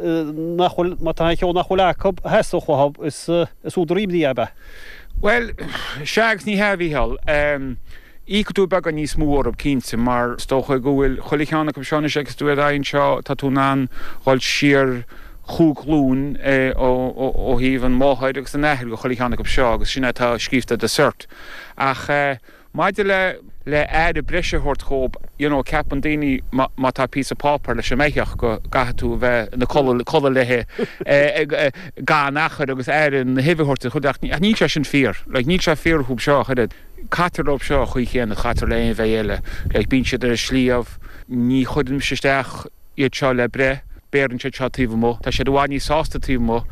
nach bhfuil, má tá aon cheo nach bhfuil acu a theastódh uathu, is údar imní ab ea? Bhuel, sea agus ní hea, a Mhícheáil. Íocfaidh tú beagán níos mó orthu, cinnte, mar is dócha go bhfuil chuile cheann acu seo anois agus tú ar aghaidh anseo, tá tú in ann dhul siar chúig ghlúin ó thaobh an mháthair agus an athair go chuile cheann acu seo agus sin é atá scríofa ar do cert. Ach maidir le le aire breise a thabhairt dhóibh, you know, ceapann daoine má má tá píosa páipéir leis an mbeithíoch go gcaithfidh tú a bheith ina codladh codladh léi gan achar agus aire na huibhe a thabhairt di chuile ach níl sé sin fíor. Like níl sé fíor fúthu seo ach oiread. Caitear leo seo an chaoi chéanna a chaitear le aon bheithígh eile. Like bíonn siad ar an sliabh, ní chuireann mise isteach iad seo le breith, beireann siad seo taobh amuigh. Tá siad i bhfad níos sásta taobh amuigh.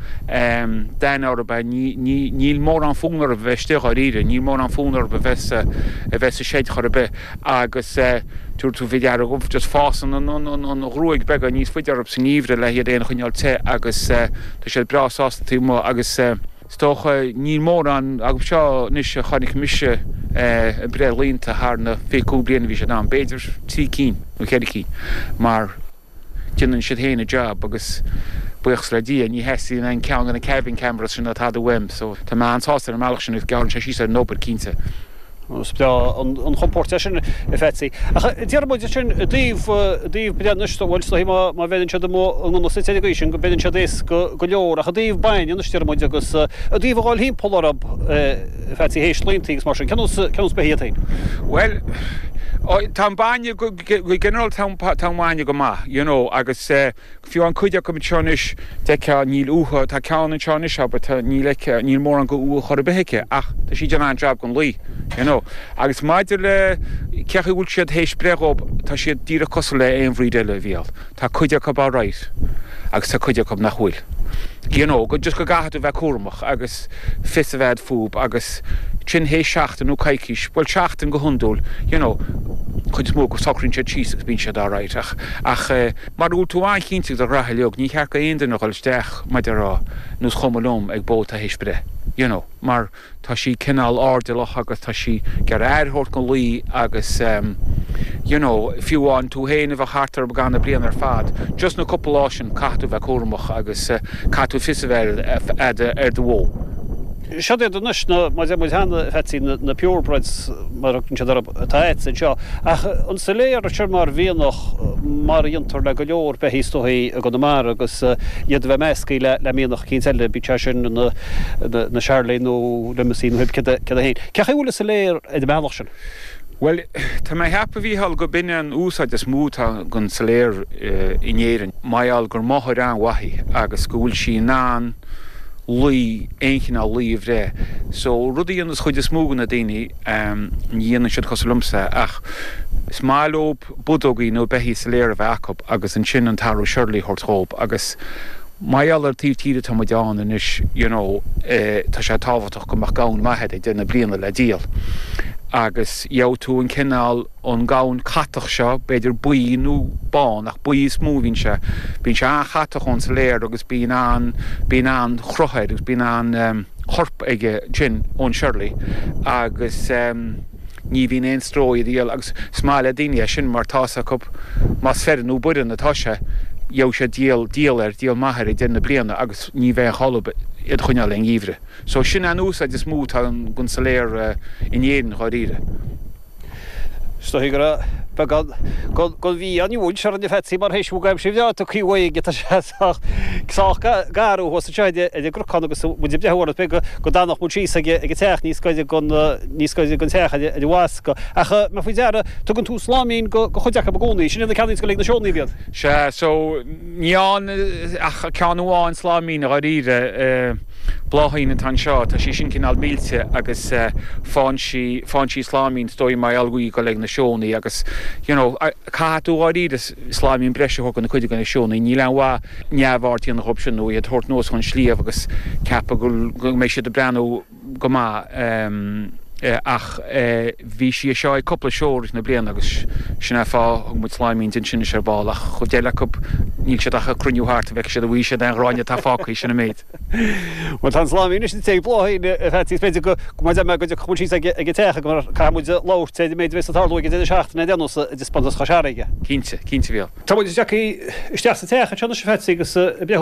D'aithne orthu é, ní, ní, níl mórán fonn orthu a bheith istigh dháiríre, níl mórán fonn orthu a bheith sa, a bheith sa seid chor ar bith. Agus tabharfaidh tú faoi deara go, just fásann an, an, an, an ghruaig beagán níos faide orthu sa ngeimhreadh le hiad féin a choinneáil te agus tá siad breá sásta taobh amuigh agus. Is dócha, níl mórán acu seo anois a chonaic mise ag breith laonta thar na 25 bliain a bhí siad ann, b'fhéidir 3 cinn nó 4 cinn, mar déanann siad féin a job agus buíochas le Dia ní theastaíonn aon cheann de na cabin cameras sin ná tada uaim so tá mé an-sásta ar an mbealach sin agus gearrann sé síos ar an obair, cinnte. Is breá an chompóirt é sin, a Phatsy. Ach déarfaidh muid ansin i dtaobh, i dtaobh breith anois, bhuel, is dóigh má, má bheireann siad amuigh i ngunna suite ar an gcaoi sin go mbeireann siad éasca go leor. Ach i dtaobh bainne anois, déarfaidh muid, agus i dtaobh a dhul thimpeall orthu, a Phatsy, théis laontaí agus mar sin, cén nós, cén nós beithígh iad féin? Bhuel, tá an bainne, go ginearálta tá an bainne go maith, you know, agus eh, Fiú an cuid acu anseo anois, d'fheicfeá, níl uathu, tá ceann anseo anois, abair, tá, níl aici, níl mórán go uath chor ar bith aici, ach tá sí ag déanamh an-jab gon lao, you know. Agus maidir le cé chaoi bhfuil siad théis breith dhób, tá siad díreach cosúil le aon bhreed eile, a Mhícheál. Tá cuid acu alright agus tá cuid acu nach bhfuil. You know, go, just go gcaithfidh tú bheith cúramach agus fios a bheith a'd fúb agus sin théis seachtain nó coicís, bhuel seachtain go hiondúil, you know, chuid is mó acu socraíonn siad síos agus bíonn siad alright ach, ach eh, Mara bhfuil tú an-chinnte de do ghraithe uilig, ní cheart go aon duine a dhul isteach, mar a déarfá, nós chuma liom, ag bó atá théis breith. You know, mar tá sí cineál airdeallach agus tá sí ag iarraidh aire a thabhairt gon lao agus ehm, you know, fiú amháin tú féin a bheith thart orthu i gcaitheamh na bliana ar fad, just na cúpla lá sin caithfidh tú bheith cúramach agus eh, caithfidh tú fios a bheith a'd ar do bhó. Siod iad anois na, mar a deir muid cheana, a Phatsy, na purebreds, mar a thugann siad orthu, atá a'dsa anseo. Ach an siléar seo mar mhianach, mar a dhéantar le go leor beithígh is dóichí i gConamara agus iad a bheith measctha le le mianach eicínt eile, bíodh sé sin ina ina Charolais nó Limousin nó céard é féin. Cén chaoi a bhfuil an siléar ar an mbealach sin? Bhuel, tá mé a cheapadh, a Mhícheál, go b'in an úsáid is mó atá gon siléar in Éirinn, mar gheall gur máthair an-mhaith í agus go bhfuil sí in ann lao, aon chineál lao a bhreith. So, rud a dhéanas chuid is mó de na daoine, ní dhéanann siad cosúil liomsa, ach is maith leob budógaí nó beithígh siléar a bheith acu agus ansin an tarbh Shirley a thabhairt dhób agus mar gheall ar taobh tíre atá muid ann anois, you know, tá sé tábhachtach go mbeadh gamhain maith a'd ag deireadh na bliana le díol agus gheobhaidh tú an cineál, an gamhain catach seo, b'fhéidir buí nó bán, ach buí is mó a bhíonn sé. Bíonn sé an-chatach ón siléar agus bíonn an, bíonn an-chruth air agus bíonn an-chorp aige sin ón Shirley agus ní bhíonn aon stró iad a dhíol agus is maith le daoine é sin mar tá's acu más feireann nó baireann atá sé, gheobhaidh siad díol, díol air, díol maith air ag deireadh na bliana agus ní bheidh aon chall orthu iad a choinneáil aon gheimhreadh. So sin an úsáid is mó atá gon siléar in Éirinn dháiríre. Is dóigh go raibh beagán den mhí-ádh orainn a Phatsy mar théis bhog aimsir bhreá tugtha uaidh tá sé sách sách garbh thuas anseo ar an gcnocán agus muid ag breathnú orthu b'fhéidir go dtanfadh muid síos ag an teach níos gaire don níos gaire don teach ar an bhascadh. Ach mé faoi deara tugann tú sláimín go chuid acu i gcónaí, sin iad na ceannaíonn go ag na seónna iad. Sea, so ní fhaigheann ach ceann amháin sláimín dháiríre. Bláithín atá anseo, tá sí sin cineál millte agus faigheann sí, faigheann sí sláimín is dóigh mar gheall go bhfuil ag dul ag na seónna agus you know caithfidh tú dháiríre sláimín breise a thabhairt do na cuid de na seónna, níl aon mhaith neamhaird a dhéanamh dhób sin nó iad a thabhairt anuas chun sliabh agus ceapadh go go mbeidh siad ag breathnú go maith ach bhí sí anseo ag cúpla seó i rith na bliana agus sin é fáth thug muid sláimín di ansin anois ar ball ach chuid eile acu níl siad ach ag cruinniú thart an bhfeicfidh siad an bhfaighidh siad aon ghráinne atá fágtha, sin an méid. Bhuel tá an sláimín anois ag Bláithín a Phatsy is b'fhéidir go mar deir mé go dtiocfadh muid síos ag an teach mar caithfidh muid labhairt ar an méid a bheas ag tarlú ag an deireadh seachtaine ar aon nós i dtaispeántas Chois Fharraige. Cinnte, cinnte a Mhícheál. Tá muid tagtha isteach sa teach anseo anois a Phatsy agus ag breathnú.